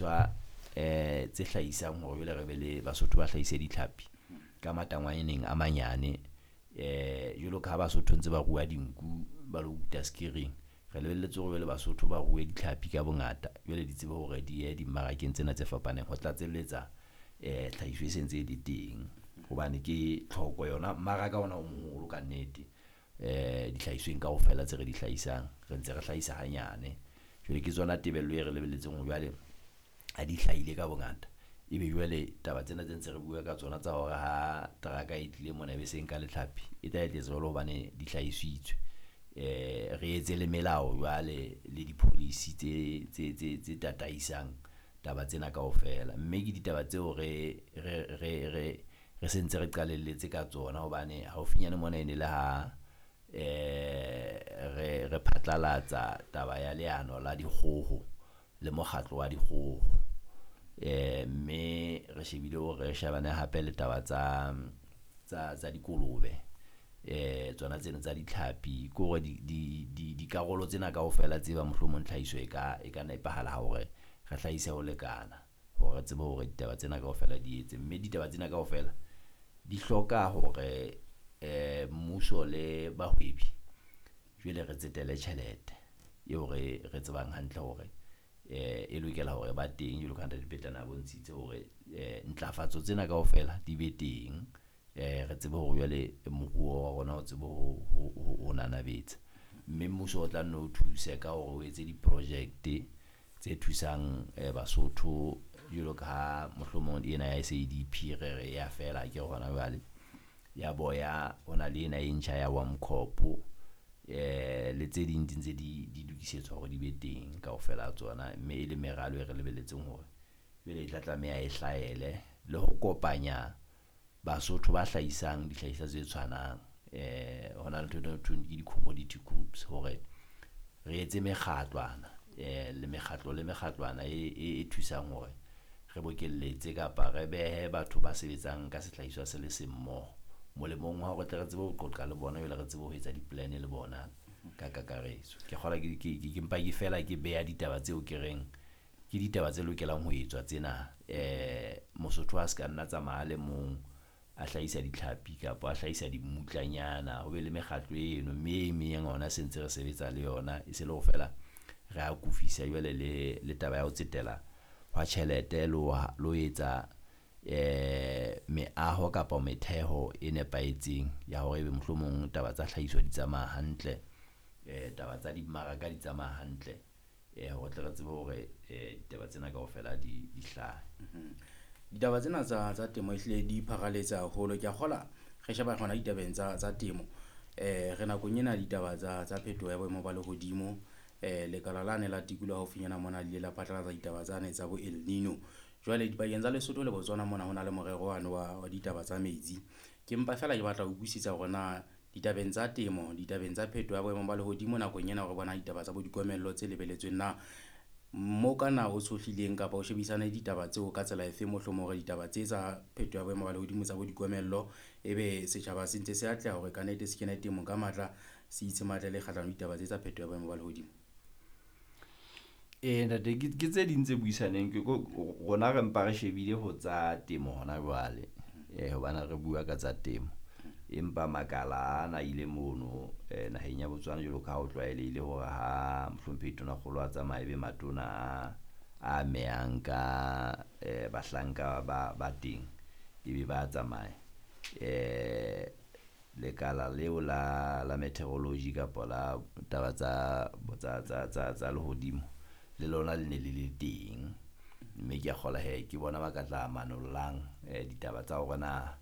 Tse hlahisang hore jwale re be le Basotho ba hlahise ditlhapi ka matangwaneng a manyane. Jwalo ka ha Basotho ntse ba rua dinku, ba lo kuta sekering. Re lebelletse hore jwale Basotho ba rue ditlhapi ka bongata jwale di tsebe hore di ye dimmarakeng tsena tse fapaneng ho tlatselletsa tlhahiso e sentse e le teng. Hobane ke tlhoko yona mmaraka ona o moholo ka nnete dihlahisweng kaofela tse re di hlahisang. Re ntse re hlahisa hanyane. Jwale ke tsona tebello e re lebelletseng hore jwale ha di hlahile ka bongata, ebe jwale taba tsena tse ntse re bua ka tsona tsa hore ha teraka e tlile mona e be se nka le tlhapi e tla etsa jwalo hobane di hlahisitswe. Re etse le melao jwale le di-policy tse tataisang taba tsena kaofela. Mme ke ditaba tseo re sentse re qalelletse ka tsona hobane haufinyane mona e ne le ha re phatlalatsa taba ya leano la dikgoho le mokgatlo wa dikgoho. Mme re shebile hore re shebane hape le taba tsa dikolobe tsona tseno tsa ditlhapi. Ke hore dikarolo tsena kaofela tse bang mohlomong tlhahiso e ka nepahala hore re hlahise ho lekana hore re tsebe hore ditaba tsena kaofela di etse. Mme ditaba tsena kaofela di hloka hore mmuso le bahwebi jwale re tsetele tjhelete eo re tsebang hantle hore e lokela hore ba teng jwalo ka ha Ntate Petlane a bontshitse hore ntlafatso tsena kaofela di be teng. Re tsebe hore jwale moruo wa rona o tsebe ho nanabetsa. Mme mmuso o tla nno o thuse ka hore o etse di-project tse thusang Basotho jwalo ka ha mohlomong ena ya SADP re re ya fela akere hona jwale. Ya boya ho na le ena e ntjha ya WAMCOP le tse ding di ntse di lokisetswa hore di be teng kaofela ha tsona. Mme e le meralo e re lebelletseng hore jwale e tla tlameha e hlahele le ho kopanya Basotho ba hlahisang dihlahiswa tse tshwanang. Ho na le ntho e thweng ke di-commodity groups hore re etse mekgatlwana le mekgatlo le mekgatlwana e thusang hore re bokelletse kapa re behe batho ba sebetsang ka sehlahiswa se le seng mmoho. Molemong wa hore tle re tsebe ho qoqa le bona jwale re tsebe ho etsa di-plan le bona ka kakaretso. Ke kgolwa ke mpa ke fela ke beha ditaba tseo ke reng ke ditaba tse lokelang ho etswa tsena. Mosotho a se ka nna tsamaya a le mong a hlahisa ditlhapi kapa a hlahisa dimmutlanyana. Ho be le mekgatlo eno, mme e meng yona se ntse re sebetsa le yona. E se le hore feela re akofisa jwale le taba ya ho tsetela hwa tjhelete le ho etsa meaho kapa metheho e nepahetseng ya hore ebe mohlomong taba tsa tlhahiso di tsamaya hantle, taba tsa dimmaraka di tsamaya hantle hore tle re tsebe hore ditaba tsena kaofela di hlahe. Ditaba tsena tsa temo ehlile di pharaletse haholo. Ke a kgola re sheba hona ditabeng tsa temo. Re nakong ena ditaba tsa phetoho ya boemo ba lehodimo. Lekala lane la tikoloho haufinyana mona le ile la phatlalatsa ditaba tsane tsa bo El Nino. Jwale dipakeng tsa Lesotho le Botswana mona ho na le morero wane wa ditaba tsa metsi. Ke mpa feela ke batla ho utlwisisa hore na ditabeng tsa temo, ditabeng tsa phetoho ya boemo ba lehodimo nakong ena re bona ditaba tsa bo dikomello tse lebelletsweng na. Mo kana o tshohlileng kapa o shebisane ditaba tseo ka tsela efeng mohlomong hore ditaba tse tsa phetoho ya boemo ba lehodimo tsa bo dikomello, ebe setjhaba se ntse se atleha hore kannete se kene temong ka matla, se itshematlele kgahlano le ditaba tse tsa phetoho ya boemo ba lehodimo? Ntate ke tse ding tse buisaneng ke rona re mpa re shebile ho tsa temo hona jwale. Hobane re bua ka tsa temo. Empa makala ana ile mono naheng ya Botswana jwalo ka ha ho tlwaelehile hore ha mohlomphehi Tonakgolo a tsamaya ebe matona a amehang ka bahlanka ba teng ebe ba tsamaya. Lekala leo la meteorology kapa la taba tsa lehodimo le lona le ne le le teng. Mme ke a kgolwa hee ke bona ba ka tla manollang ditaba tsa hore na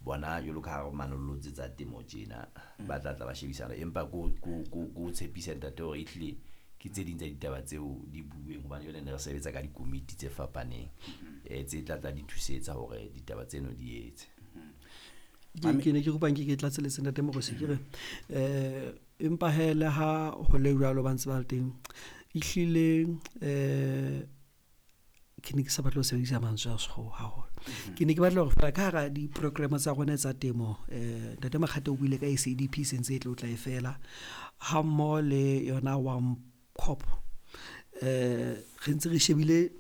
bona jwalo ka ha re manollotse tsa temo tjena ba tla tla ba shebisana. Empa ko tshepisa ntate hore ehlile ke tse ding tsa ditaba tseo di bueng hobane jwale ne re sebetsa ka dikomiti tse fapaneng tse tla tla di thusetsa hore ditaba tseno di etse. Ke ne ke kopa nke ke tlatseletse Ntate Moorosi ke re empa hee le ha ho le jwalo ba ntse ba le teng ehlile ke ne ke sa batle ho sebedisa mantswe a sekgowa haholo. Ke ne ke batla hore feela ka hara di-program tsa rona tsa temo Ntate Makgate o buile ka SADP se ntse e tlo tla e fela ha mmoho le yona WAMCOP. Re ntse re shebile